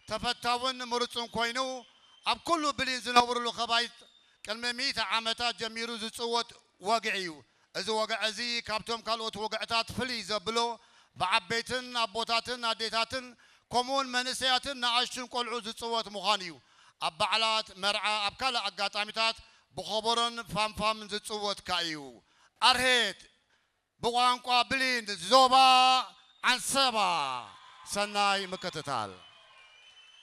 ተፈታውን ምሩጽን ኮይኑ ኣብ ኩሉ ብሊን ዝነብርሉ ከባይት ቅድሚ ሚእቲ ዓመታት ጀሚሩ ዝጽወት ወግዒ እዩ። እዚ ወግዒ እዚ ካብቶም ካልኦት ወግዕታት ፍልይ ዘብሎ ብዓበይትን ኣቦታትን ኣዴታትን ከምኡውን መንእሰያትን ንኣሽቱን ቆልዑ ዝጽወት ምዃኑ እዩ። ኣብ በዓላት፣ መርዓ፣ ኣብ ካልእ ኣጋጣሚታት ብኸበሮን ፋንፋምን ዝጽወት ከኣ እዩ። ኣርሄት ብቋንቋ ብሊን ዞባ ዓንሰባ። ሰናይ ምክትታል።